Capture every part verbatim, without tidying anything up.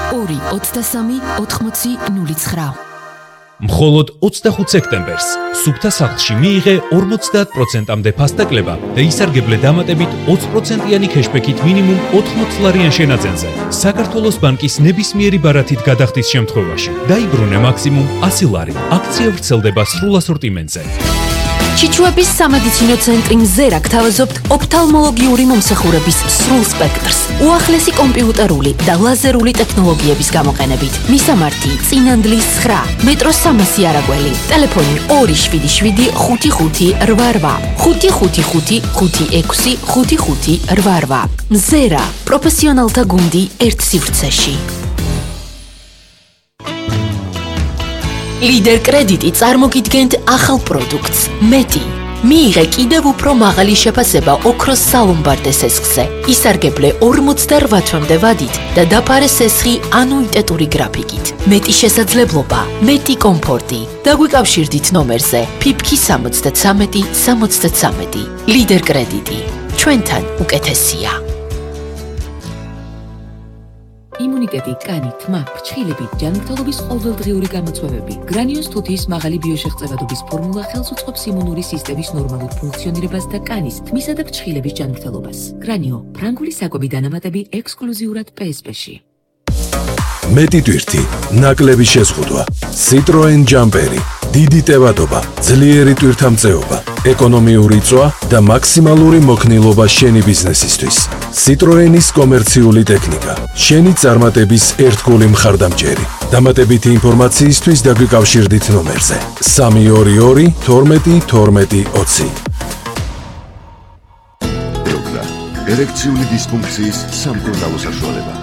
ორი ოცდასამი ოთხმოცი ნული ცხრა. მხოლოდ ოცდახუთ სექტემბერს სუფთა სახლში მიიღე ორმოცდაათ პროცენტამდე ფასდაკლება და ისარგებლე დამატებით ოცი პროცენტიანი ქეშბექით მინიმუმ ოთხმოც ლარიან შენაძენზე. საქართველოს ბანკის ნებისმიერი ბარათით გადახდის შემთხვევაში დაიბრუნე მაქსიმუმ ასი ლარი. აქცია ვრცელდება სრულ ასორტიმენტზე. ჩიჩუების სამედიცინო ცენტრი მზერა გთავაზობთ ოფთალმოლოგიური მომსახურების სრულ სპექტრს, უახლესი კომპიუტერული და ლაზერული ტექნოლოგიების გამოყენებით. მისამართი წინანდლის ცხრა, მეტროს სამასი არაგველი, ტელეფონი ორი შვიდი შვიდი ხუთი ხუთი რვა რვა, ხუთი ხუთი ხუთი ხუთი ექვსი ხუთი ხუთი რვა რვა. მზერა, პროფესიონალთა გუნდი ერთ სივრცეში. ლიდერ კრედიტი წარმოგიდგენთ ახალ პროდუქტს მეტი. მიიღე კიდევ უფრო მაღალი შეფასება ოქროს სალომბარდე სესხზე. ისარგებლე ორმოცდარვა თვემდე ვადით და დაფარე სესხი ანუიტეტური გრაფიკით. მეტი შესაძლებლობა, მეტი კომფორტი. დაგვიკავშირდით ნომერზე ფიფკი სამოცდათრამეტი სამოცდათრამეტი. ლიდერ კრედიტი. ჩვენთან უკეთესია. იმუნიტეტი, კანი, თმა, ფრჩხილები, ჯანმრთელობის ყოველდღიური გამოწვევები. გრანიოს თუთიის მაღალი ბიოშეღწევადობის ფორმულა ხელს უწყობს იმუნური სისტემის ნორმალურ ფუნქციონირებას და კანის, თმისა და ფრჩხილების ჯანმრთელობას. გრანიო, ფრანგული საკვები დანამატები ექსკლუზიურად პე ეს პე-ში. მეტი ტვირთი, ნაკლები შეზღუდვა, Citroen ჯამპერი, დიდი ტევადობა, ძლიერი ტვირთამწეობა, ეკონომიური წვა და მაქსიმალური მოქნილობა შენი ბიზნესისთვის. Citroenis კომერციული ტექნიკა, შენი წარმატების ერთგული მხარდამჭერი. დამატებითი ინფორმაციისთვის დაგვიკავშირდით ნომერზე სამი ორი ორი თორმეტი თორმეტი ოცი. ეროგრა, ერექციული დისფუნქციის სამკურნალო საშუალება.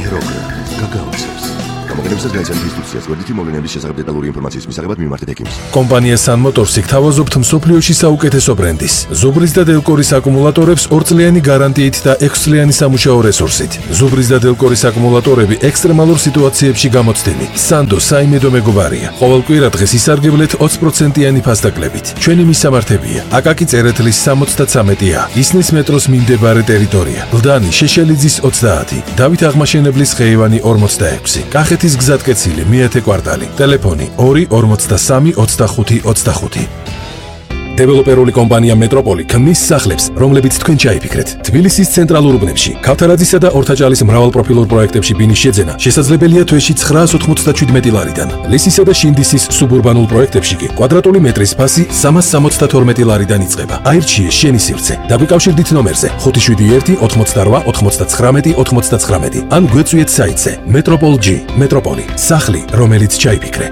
ეროგრა, გაგაოცებს. გამოგონებისას განიცადეთ ინსტრუქციას გვერდითი მოვლენების შესახებ დეტალური ინფორმაციის მისაღებად მიმართეთ ექიმს. კომპანია Sun Motors გთავაზობთ მსოფლიოში საუკეთესო ბრენდის. ზუბრის და დელკორის აკუმულატორებს ორწლიანი გარანტიით და ექვსწლიანი სამუშაო რესურსით. ზუბრის და დელკორის აკუმულატორები ექსტრემალურ სიტუაციებში გამოცდილი. Sando საიმედო მეგობარია. ყოველ კვირა დღეს ისარგებლეთ ოცი პროცენტიანი ფასდაკლებით. ჩვენი მისამართებია: აკაკი წერეთლის სამოცდათრამეტი ა, ისნის მეტროს მიმდებარე ტერიტორია, ლდანი შეშელიძის ოცდაათი, დავით აღმაშენებლის ხეივანი ორმოცდაექვსი, კახეთის გზატკეცილი მეათე კვარტალი, ტელეფონი ორი ორმოცდასამი ოცდახუთი ოცდახუთი. დეველოპერული კომპანია მეტროპოლი ქმნის სახლებს, რომლებიც თქვენ ჩაიფიქრეთ. თბილისის ცენტრალურ უბნებში, ქავთარაძისა და ორთაჭალის მრავალპროფილურ პროექტებში ბინის შეძენა შესაძლებელია თვეში ცხრაას ოთხმოცდაშვიდმეტი ლარიდან. ლისისა და შინდისის სუბურბანულ პროექტებში კი კვადრატული მეტრის ფასი სამას სამოცდათორმეტი ლარიდან იწყება. აირჩიე შენი სივრცე. დაგვიკავშირდით ნომერზე ხუთი შვიდი ერთი ოთხმოცდარვა ოთხმოცდაცხრამეტი ოთხმოცდაცხრამეტი ან გვეწვიეთ საიტზე მეტროპოლ ჯი. მეტროპოლი, სახლი, რომელიც ჩაიფიქრე.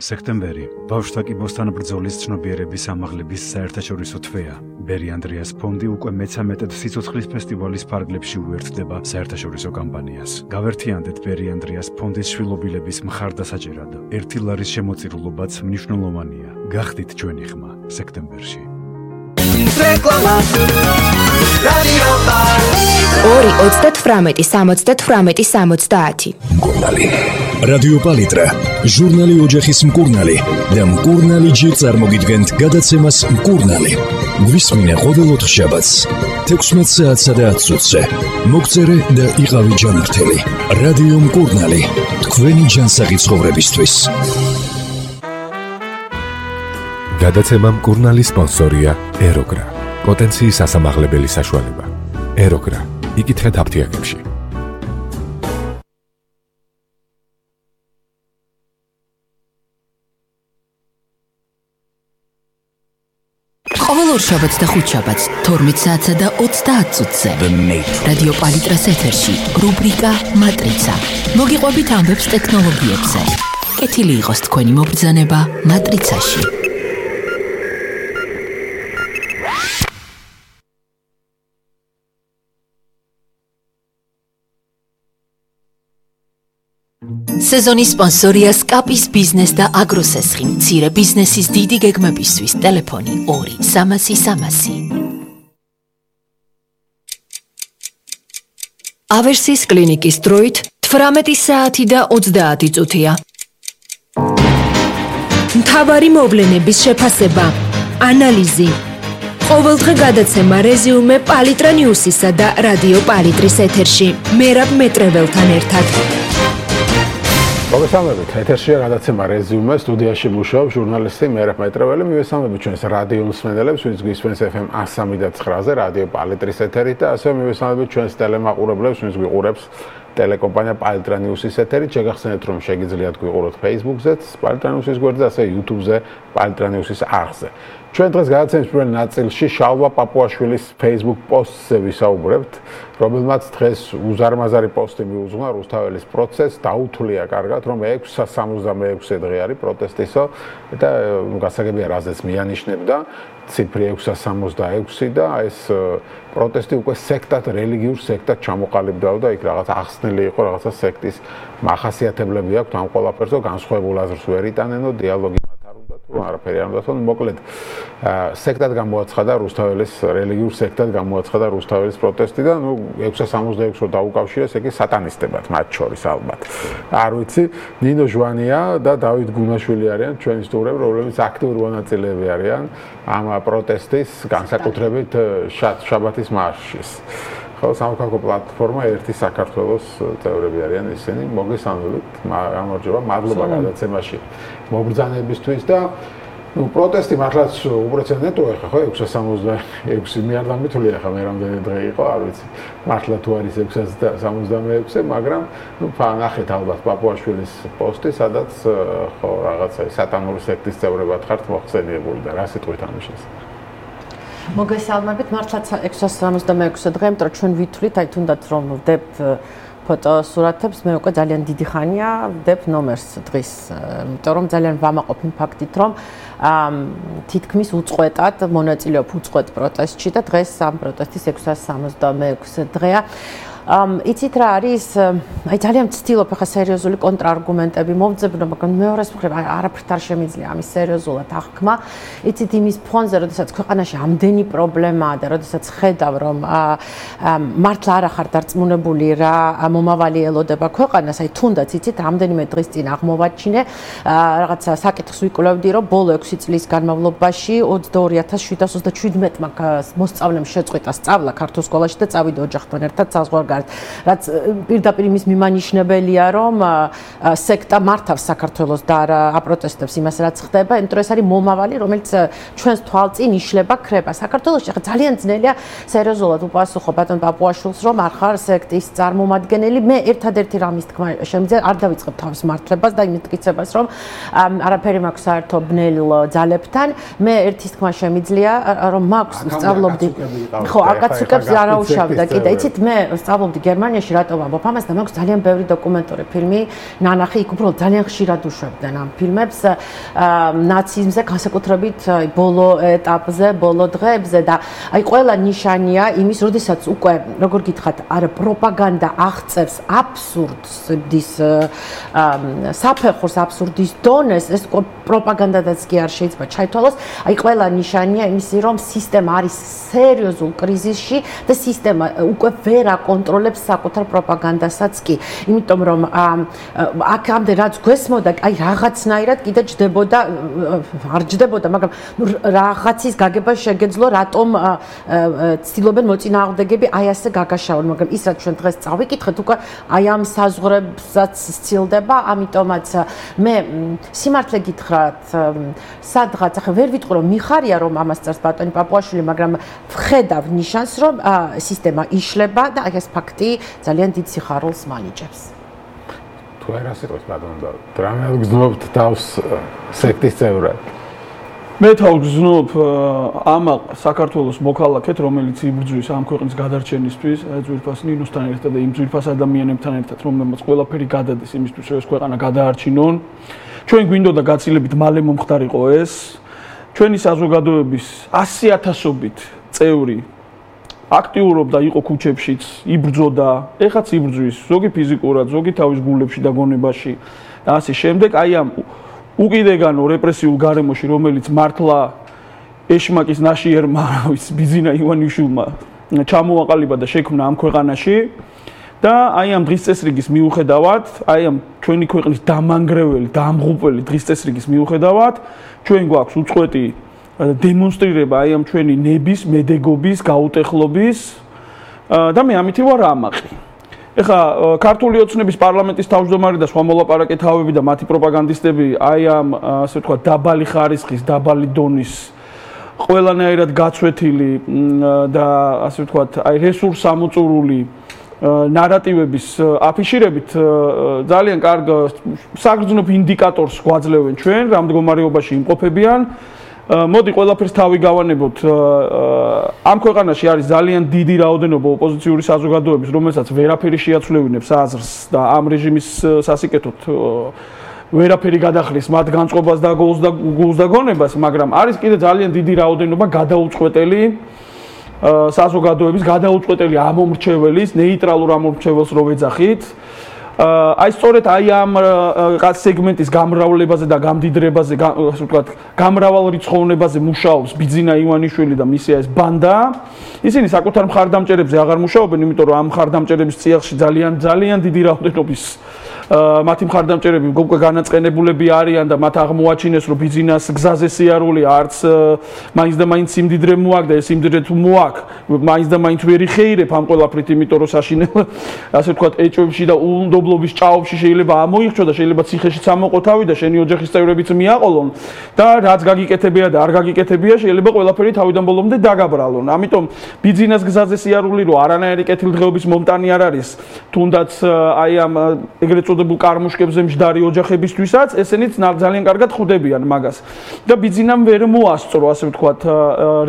სექტემბერი ბავშვთა კიბოსთან ბრძოლის ცნობიერების ამაღლების საერთაშორისო თვეა. ბერი ანდრიას ფონდი უკვე მეცამეტედ სიცოცხლის ფესტივალის ფარგლებში უერთდება საერთაშორისო კამპანიას. გავერთიანდეთ ბერი ანდრიას ფონდის შვილობილების მხარდასაჭერად. ერთი ლარის შემოწირულობაც მნიშვნელოვანია. გახდით ჩვენი ხმა სექტემბერში. ორი ოცდათვრამეტი სამოცდათვრამეტი სამოცდაათი. მკურნალი. რადიო პალიტრა, ჟურნალი ოჯახის მკურნალი და მკურნალი ჯი წარმოგიდგენთ გადაცემას მკურნალი. გვისმინე ყოველ ოთხშაბათს თექვსმეტ საათსა და ათს წუთზე. მოგწერე და იყავი ჯანმრთელი. რადიო მკურნალი, თქვენი ჯანსაღი ცხოვრებისთვის. გადაცემა მკურნალის სპონსორია ეროგრა. პოტენციის ასამაღლებელი საშუალება. ეროგრა. იკითხეთ აფთიაქებში. ყოველ ორშაბათს და ხუთშაბათს თორმეტ საათსა და ოცდაათ წუთზე. რადიო პალიტრას ეთერში რუბრიკა მატრიცა. მოგიყვებით ამბებს ტექნოლოგიებზე. კეთილი იყოს თქვენი მობრძანება მატრიცაში. სეზონის სპონსორია სკაპის ბიზნეს და აგროსესხი. მცირე ბიზნესის დიდი გეგმებისთვის ტელეფონი ორი სამასი სამასი. ავერსის კლინიკის დროით თვრამეტი საათი და ოცდაათი წუთია. მთავარი მოვლენების შეფასება, ანალიზი, ყოველდღე გადაცემა რეზიუმე პალიტრა ნიუსისა და რადიო პალიტრის ეთერში. მერაბ მეტრეველთან ერთად. მოგესალმებით, ეთერშია გადაცემა რეზიუმე, სტუდიაში მუშაობს ჟურნალისტი მერაბ მეტრეველი. მივესალმებით ჩვენს რადიო მსმენელებს, ვინც გვისმენს ეფ ემ one oh three point nine-ზე რადიო პალიტრის ეთერით და ასევე მივესალმებით ჩვენს ტელემაყურებლებს, ვინც გვიყურებს ტელეკომპანია პალიტრა ნიუსის ეთერით. შეგახსენებთ, რომ შეგიძლიათ გვიყუროთ Facebook-ზეც, პალიტრა ნიუსის გვერდზე, ასევე YouTube-ზე, პალიტრა ნიუსის არხზე. ჩვენ დღეს გადაცემის პირველ ნაწილში შალვა პაპუაშვილის Facebook პოსტზე ვისაუბრებთ, რომელმაც დღეს უზარმაზარი პოსტი მიუძღვნა რუსთაველის პროცესს, დაუთვლია კარგად, რომ ექვსი სამოცდამეექვსე დღე არის პროტესტისო და გასაგებია რაზეც მიანიშნებდა ციფრი ექვსი სამოცდაექვსი და ეს პროტესტი უკვე სექტად, რელიგიურ სექტად ჩამოყალიბდა და იქ რაღაც ახსნილი იყო, რაღაცა სექტის მახასიათებლები აქვს ამ ყველაფერს, განსხვავებულ აზრს ვერ იტანენო, დიალოგი არაფერი არ უნდა თქო, მოკლედ სექტად გამოაცხადა რუსთაველის რელიგიურ სექტად გამოაცხადა რუსთაველის პროტესტი და ნუ ექვსი სამოცდაექვსი დაუკავშირეს ეგ სატანისტებად მათ შორის ალბათ. არ ვიცი, ნინო ჟვანია და დავით გუნაშვილი არიან ჩვენი სტუმრები, რომლებიც აქტიური მონაწილეები არიან ამ პროტესტის განსაკუთრებით შაბათის მარშის. ხო, სამოქალაქო პლატფორმა ერთი საქართველოს წევრები არიან ისინი. მოგესალმებით, გამარჯობა, მადლობა გადაცემაში მობრძანებისთვის და ну პროტესტი მართლაც უპრეცედენტოა ხა ხო ექვსი სამოცდაექვსი მე არ დამითვლი ხა მე რამდენი დღე იყო არ ვიცი მართლა თუ არის ექვსი სამოცდამეექვსე მაგრამ ну ნახეთ ალბათ პაპუაშვილის პოსტი სადაც ხო რაღაცა სატანური სექტის წევრებად ხართ მოხსენიებული და რა სიტყვით ამის შესახებ მოგესალმებით მართლაც ექვსი სამოცდამეექვსე დღე იმიტომ რომ ჩვენ ვითვლით აი თუნდაც რომ ვდებთ ფოტოსურათებს მე უკვე ძალიან დიდი ხანია ვდებ ნომერს დღის იმიტომ რომ ძალიან ვამაყობ იმ ფაქტით რომ თითქმის უწყვეტად მონაწილეობ უწყვეტ პროტესტში და დღეს ამ პროტესტის ექვსი სამოცდამეექვსე დღეა იცით რა არის აი ძალიან ვცდილობ ახლა სერიოზული კონტრარგუმენტები მოვძებნო მაგრამ მეორეს მხრივ არაფრით არ შემიძლია ამის სერიოზულად აღქმა იცით იმის ფონზე როდესაც ქვეყანაში ამდენი პრობლემაა და როდესაც ხედავ რომ მართლა არ ახარ დარწმუნებული რა მომავალი ელოდება ქვეყანას აი თუნდაც იცით რამდენიმე დღის წინ აღმოვაჩინე რაღაცა საკითხს ვიკვლევდი რომ ბოლო ექვსი წლის განმავლობაში ოცდაორი ათას შვიდ ოცდაჩვიდმეტმა მოსწავლემ შეწყვიტა სწავლა ქართულ სკოლაში და წავიდა ოჯახთან ერთად საზღვარგარეთ რაც პირდაპირ იმის მიმანიშნებელია რომ სექტა მართავს საქართველოს და არა აპროტესტებს იმას რაც ხდება იმიტომ რომ ეს არის მომავალი რომელიც ჩვენს თვალწინ იშლება ქრება საქართველოში ახლა ძალიან ძნელია სერიოზულად უპასუხო ბატონ პაპუაშვილს რომ არ ხარ სექტის წარმომადგენელი მე ერთადერთი რამის თქმა შემიძლია არ დავიწყებ თავის მართლებას და იმით გიცებას რომ არაფერი მაქვს საერთო ბნელ ძალებთან მე ერთის თქმა შემიძლია რომ მაქვს სწავლობდი ხო აკაცუკებს არაუშავდა კიდე იცით მე სწავლობდი გერმანიაში რატომ ამბობ ამას და მაქვს ძალიან ბევრი დოკუმენტური ფილმი ნანახი იქ უბრალოდ ძალიან ხშირად უშვებდნენ ამ ფილმებს ნაციზმზე განსაკუთრებით ბოლო ეტაპზე ბოლო დღეებზე და აი ყველა ნიშანია იმის როდესაც უკვე როგორ გითხრათ არა პროპაგანდა აღწევს აბსურდის საფეხურს აბსურდის დონეს ეს პროპაგანდადაც კი არ შეიძლება ჩაითვალოს აი ყველა ნიშანია იმისი რომ სისტემა არის სერიოზულ კრიზისში და სისტემა უკვე ვერ აკონტროლებს საკუთარ პროპაგანდასაც კი იმიტომ რომ აქამდე რაც გვესმოდა აი რაღაცნაირად კიდე ჯდებოდა არ ჯდებოდა მაგრამ რაღაცის გაგება შეგეძლო რატომ ცდილობენ მოწინააღმდეგეები აი ასე გაგაშავონ მაგრამ ის რაც ჩვენ დღეს წავიკითხეთ უკვე აი ამ საზღვრებსაც სცილდება ამიტომაც მე სიმართლე გითხრათ სადღაც ახლა ვერ ვიტყვი რომ მიხარია რომ ამას წერს ბატონი პაპუაშვილი მაგრამ ვხედავ ნიშანს რომ სისტემა იშლება და აი ეს ფაქტი ძალიან დიდ სიხარულს მანიჭებს თუ არ ასეთოს ბატონო და დრამატულად გზნობთ თავს სექტის წევრად მე თავს გზნობ ამ საქართველოს მოქალაქეთ რომელიც იბრძვის ამ ქვეყნის გადარჩენისთვის ძვირფას ნინოსთან ერთად და იმ ძვირფას ადამიანებთან ერთად რომელმაც ყველაფერი გადადეს იმისთვის რომ ეს ქვეყანა გადაარჩინონ ჩვენ გვინდოდა გაცილებით მალე მომხდარიყო ეს ჩვენი საზოგადოების ასი ათასობით წევრი აქტიურობდა იყო ქუჩებშიც იბრძოდა ეხაც იბრძვის ზოგი ფიზიკურად ზოგი თავის გულებში და გონებაში და ასე შემდეგ აი ამ უკიდეგანო რეპრესიულ გარემოში რომელიც მართლა ეშმაკის ნაშიერმა რავის ბიზინა ივანიშვილმა ჩამოაყალიბა და შექმნა ამ ქვეყანაში და აი ამ დღის წესრიგის მიუხედავად აი ამ ჩვენი ქვეყნის დამანგრეველი და ამღუპელი დღის წესრიგის მიუხედავად ჩვენ გვაქვს უწყვეტი დემონსტრირება აი ამ ჩვენი ნების, მედეგობის, გაუტეხლობის და მე ამითი ვარ ამაყი. ეხლა ქართული ოცნების პარლამენტის თავმჯდომარე და სხვა მოლაპარაკე თავები და მათი პროპაგანდისტები აი ამ ასე ვთქვათ დაბალი ხარისხის, დაბალი დონის ყველანაირად გაცვეთილი და ასე ვთქვათ აი რესურს ამოწურული ნარატივების აფიშირებით ძალიან კარგ საგრძნობ ინდიკატორს გვაძლევენ ჩვენ რა მდგომარეობაში იმყოფებიან. მოდი ყველაფერს თავი გავანებოთ. ამ ქვეყანაში არის ძალიან დიდი რაოდენობა ოპოზიციური საზოგადოების, რომელსაც ვერაფერი შეაცვლევინებს აზრს და ამ რეჟიმის სასიკეთოდ ვერაფერი გადახრის მათ განწყობას და გულს და გულს და გონებას, მაგრამ არის კიდე ძალიან დიდი რაოდენობა გადაუწყვეტელი საზოგადოების, გადაუწყვეტელი ამომრჩეველის, ნეიტრალურ ამომრჩეველს რო ვეძახით. აი სწორედ აი ამ სეგმენტის გამრავლებაზე და გამდიდრებაზე, ასე ვთქვათ, გამრავალრიცხოვნებაზე მუშაობს ბიძინა ივანიშვილი და მისი ეს ბანდა. ისინი საკუთარ მხარდამჭერებზე აღარ მუშაობენ, იმიტომ რომ ამ მხარდამჭერების წიაღში ძალიან ძალიან დიდი რაოდენობის მათი მხარდამჭერები უკვე განაწყენებულები არიან და მათ აღმოაჩინეს რომ ბიძინას გზაზე სიარული არც მაინც და მაინც სიმდიდრე მოაქვს და ეს სიმდიდრე თუ მოაქვს მაინც და მაინც ვერ იხეირებ ამ ყველაფრით, იმიტომ რომ საშინელ ასე ვთქვათ ეჭვებში და უნდობლობის ჭაობში შეიძლება ამოიხჩო და შეიძლება ციხეშიც ამოყო თავი და შენი ოჯახის წევრებიც მიაყოლონ და რაც გაგიკეთებია და არ გაგიკეთებია შეიძლება ყველაფერი თავიდან ბოლომდე დაგაბრალონ. ამიტომ ბიძინას გზაზე სიარული რო არანაირი კეთილდღეობის მომტანი არ არის, თუნდაც აი ამ ეგრეთ წოდებულ კარმუშკებზე მჯდარი ოჯახებისთვისაც ესენიც ძალიან კარგად ხვდებიან მაგას. და ბიძინამ ვერ მოასწრო, ასე ვთქვათ,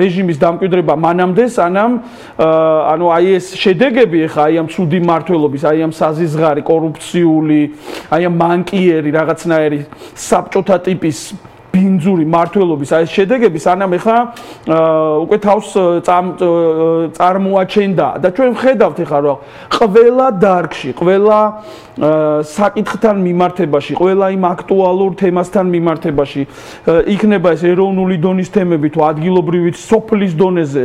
რეჟიმის დამკვიდრება მანამდე, სანამ ანუ აი ეს შედეგები ხა აი ამ ცუდი მმართველობის, აი ამ საზიზღარი, კორუფციული, აი ამ მანკიერი რაღაცნაირი საბჭოთა ტიპის ბინძური მმართველობის აი ეს შედეგები სანამ ეხა უკვე თავს წარმოაჩენდა და ჩვენ ვხედავთ ეხა რომ ყველა დარგში, ყველა საკითხთან მიმართებაში, ყველა იმ აქტუალურ თემასთან მიმართებაში იქნება ეს ეროვნული დონის თემები თუ ადგილობრივი სოფლის დონეზე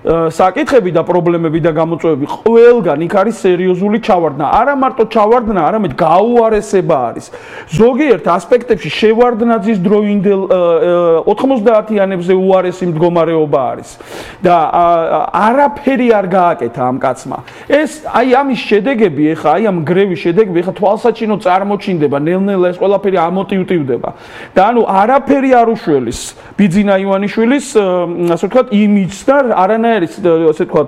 საკითხები და პრობლემები და გამოწვევები, ყველგან იქ არის სერიოზული ჩავარდნა. არა მარტო ჩავარდნა, არამედ გაუარესება არის. ზოგიერთ ასპექტებში შევარდნაძის დროინდელ ოთხმოცდაათიანებზე უარესი მდგომარეობა არის და არაფერი არ გააკეთა ამ კაცმა. ეს აი ამის შედეგები, ეხა აი ამ გრევის შედეგები, ეხა თვალსაჩინო წარმოჩინდება, ნელ-ნელა ეს ყველაფერი ამოტივტივდება. და ანუ არაფერი არ უშველის ბიძინა ივანიშვილის, ასე ვთქვათ, იმიჯს და არანაირი, ასე ვთქვათ,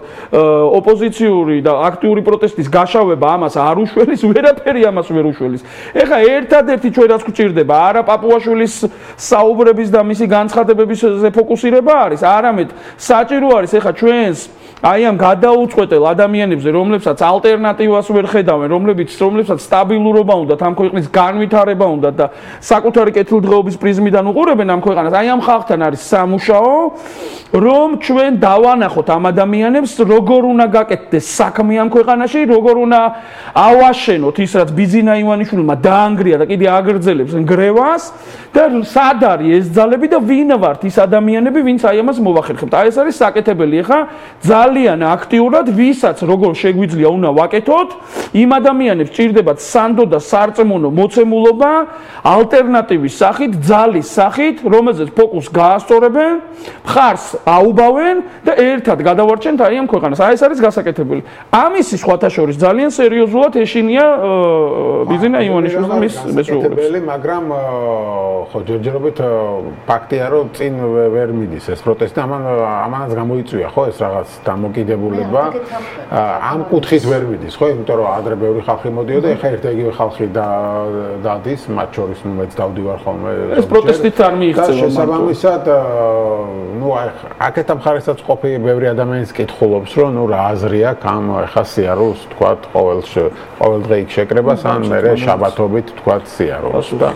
ოპოზიციური და აქტიური პროტესტის გაშავება ამას არ უშველის, ვერაფერი ამას ვერ უშველის. ეხა ერთადერთი ჩვენ რაც გვჭირდება, არა პაპუაშვილის საუბრების და მისი განცხადებებზე ფოკუსირება არის, არამედ საჭირო არის ეხა ჩვენს აი ამ გადაუწყვეტელ ადამიანებზე, რომლებსაც ალტერნატივას ვერ ხედავენ, რომლებიც რომლებსაც სტაბილურობა უნდათ, ამ ქვეყნის განვითარება უნდათ და საკუთარი კეთილდღეობის პრიზმიდან უყურებენ ამ ქვეყანას, აი ამ ხალხთან არის სამუშაო, რომ ჩვენ დავანახოთ ამ ადამიანებს, როგორ უნდა გაკეთდეს საქმე ამ ქვეყანაში, როგორ უნდა ავაშენოთ ის, რაც ბიძინა ივანიშვილმა დაანგრია და კიდე აგრძელებს ნგრევას და სად არის ეს ძალები და ვინ ვართ ის ადამიანები, ვინც აი ამას მოვახერხებთ. აი ეს არის საკეთებელი ხა ძალიან აქტიურად, ვისაც როგორ შეგვიძლია უნდა ვაკეთოთ, იმ ადამიანებს ჭირდებათ სანდო და სარწმუნო მოცემულობა, ალტერნატივის სახით, ძალის სახით, რომელზეც ფოკუსს გაასწორებენ, მხარს აუბავენ და ერთად გადავარჩენთ აი ამ ქვეყანას. აი ეს არის გასაკეთებელი. ამისი სხვათა შორის ძალიან სერიოზულად ეშინია ბიძინა ივანიშვილს და მის მესვეულებს. მაგრამ ხო ჯერჯერობით ფაქტია რომ წინ ვერ მიდის ეს პროტესტი, ამან ამანაც გამოიწვია ხო ეს რაღაც დამოკიდებულება. ამ კუთხით ვერ მიდის ხო, იმიტომ რომ ადრე ბევრი ხალხი მოდიოდა, ეხა ერთ იგივე ხალხი დადის, მათ შორის ნუ მეც დავდივარ ხოლმე. ეს პროტესტით არ მიიღწევა. შესაბამისად, ნუ აი აქეთ ამ ხარესაც ყოფილი ბევრი ადამიანის კითხულობს, რომ ნუ რა აზრი აქვს ამ ეხა სიარულს, თქვათ, ყოველ ყოველ დღე იქ შეკრებას, ან მერე შაბათობით თქვათ სიარულს და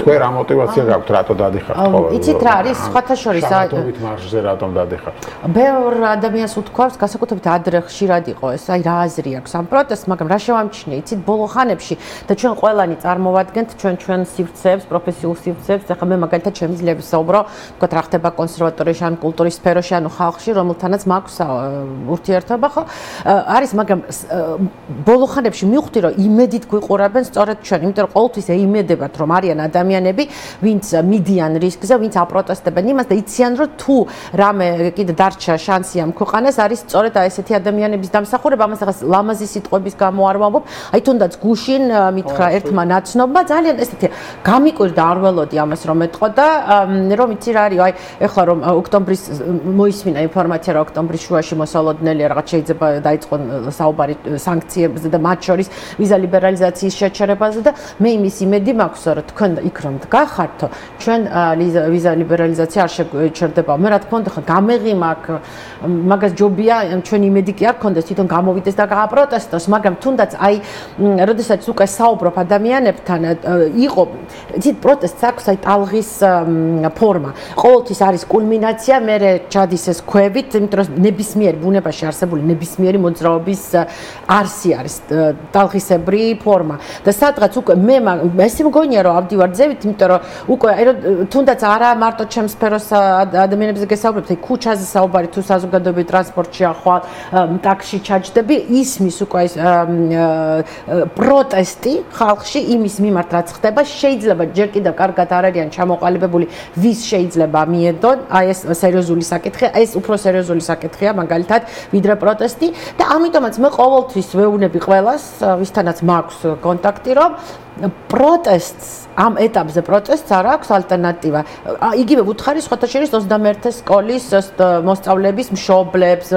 თქვენ რა мотиваცია გაქვთ, რატო დადიხართ ყოველ? იცით რა არის, სხვათა შორის შაბათობით მარშზე რატომ დადიხართ? ბევრ ადამიანს უთქვამს, გასაკუთრებით ადრე ხშირად იყო ეს, აი რა აზრი აქვს ამ პროტესტს, მაგრამ რა შევამჩნია, იცით, ბოლო ხანებში და ჩვენ ყველანი წარმოვადგენთ ჩვენ ჩვენ სივრცეებს, პროფესიულ სივრცეებს, ახლა მე მაგალითად ჩემი ძლების საუბრო, თქვათ რა ხდება კონსერვატორიაში, ან კულტურის სფეროში, ანუ ხალხში, რომელთანაც მაქვს ურთიერთობა, ხო? არის, მაგრამ ბოლო ხანებში მივხვდი, რომ იმედით გვიყურებენ სწორედ ჩვენ, იმიტომ რომ ყოველთვის ეიმედებათ, რომ არიან ადამიანები, ვინც მიდიან რისკზე, ვინც აპროტესტებენ იმას და იციან, რომ თუ რამე კიდე დარჩა შანსი ამ ქვეყანას, არის სწორედ აი ესეთი ადამიანების დამსახურება, ამას ახლა ლამაზი სიტყვების გამო არ ვამბობ, აი თუნდაც გუშინ მითხრა ერთმა ნაცნობმა, ძალიან ესეთი გამიკვირდა არ ველოდი ამას რომ ეთყო და რომ იცი რა არის, აი ეხლა რომ ოქტომბრის მოისმინა ინფორმაცია, რომ ოქტომბრის შუაში მოსალოდნელია რაღაც შეიძლება დაიწყონ საუბარი სანქციებზე და მათ შორის ვიზა ლიბერალიზაციის შეჩერებაზე და მე იმის იმედი მაქვს, რომ თქვენ იქ რომ დგახართო, ჩვენ ვიზა ლიბერალიზაცია არ შეჩერდება. მე რა თქმა უნდა ხა გამეღი მაქვს, მაგას ჯობია, ჩვენ იმედი კი არ გქონდეს თვითონ გამოვიდეს და გააპროტესტოს, მაგრამ თუნდაც აი როდესაც უკვე საუბრობ ადამიანებთან, იყო თვით პროტესტს აქვს აი ტალღის ფორმა. ყოველთვის არის კულმინაცია, მე ჩადის ეს ქვევით, იმიტომ რომ ნებისმიერი ბუნებაში არსებული ნებისმიერი მოძრაობის არსი არის ტალღისებრი ფორმა. და სადღაც უკვე მე ესე მგონია რომ ავდივარ ძევით, იმიტომ რომ უკვე აი თუნდაც არა მარტო ჩემს სფეროს ადამიანებზე გესაუბრებთ, აი ქუჩაზე საუბარი თუ საზოგადოებრივ ტრანსპორტში ახვალ ტაქსში ჩაჯდები, ისმის უკვე ეს პროტესტი ხალხში იმის მიმართ რაც ხდება, შეიძლება ჯერ კიდევ კარგად არ არიან ჩამოყალიბებული, ვის შეიძლება მიედონ, აი ეს სერიოზული საკითხია, ეს უფრო სერიოზული საკითხია მაგალითად ვიდრე პროტესტი და ამიტომაც მე ყოველთვის ვეუბნები ყველას, ვისთანაც მაქვს კონტაქტი, რომ პროტესტს ამ ეტაპზე პროტესტს არ აქვს ალტერნატივა. იგივე ვუთხარი სხვათა შორის ოცდამეერთე სკოლის მოსწავლეების მშობლებს,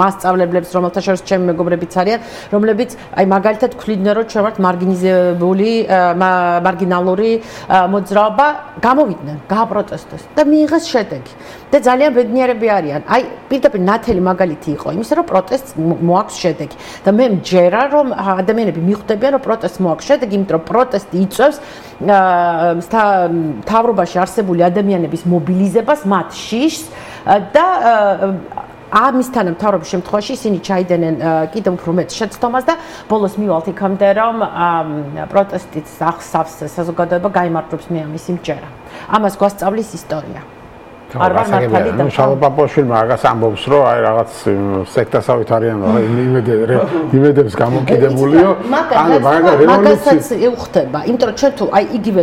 მასწავლებლებს, რომელთა შორის ჩემი მეგობრებიც არიან, რომლებიც აი მაგალითად ქვლიდნენ, რომ ჩვენ ვართ მარგინიზებული, მარგინალური მოძრაობა, გამოვიდნენ, გააპროტესტეს და მიიღეს შედეგი. და ძალიან ბედნიერები არიან. აი პირდაპირ ნათელი მაგალითი იყო იმისა, რომ პროტესტს მოაქვს შედეგი. და მე მჯერა, რომ ადამიანები მიხვდებიან, რომ პროტესტს მოაქვს შედეგი, იმიტომ რომ პროტესტი იწვევს მთავრობაში არსებული ადამიანების მობილიზებას, მათ შიშს და ამისთან მთავრობის შემთხვევაში ისინი ჩაიდენენ კიდევ უფრო მეტ შეცდომას და ბოლოს მივალთ იქამდე, რომ პროტესტის ახსავს საზოგადოება გაიმარჯვებს, მე ამის იმჯერა. ამას გვასწავლის ისტორია. არ ვარ მართალი და შალო პაპოშვილმა მაგას ამბობს, რომ აი რაღაც სექტასავით არიან, იმედებს გამოკიდებულიო. ანუ მაგასაც უხდება, იმიტომ რომ ჩვენ თუ აი იგივე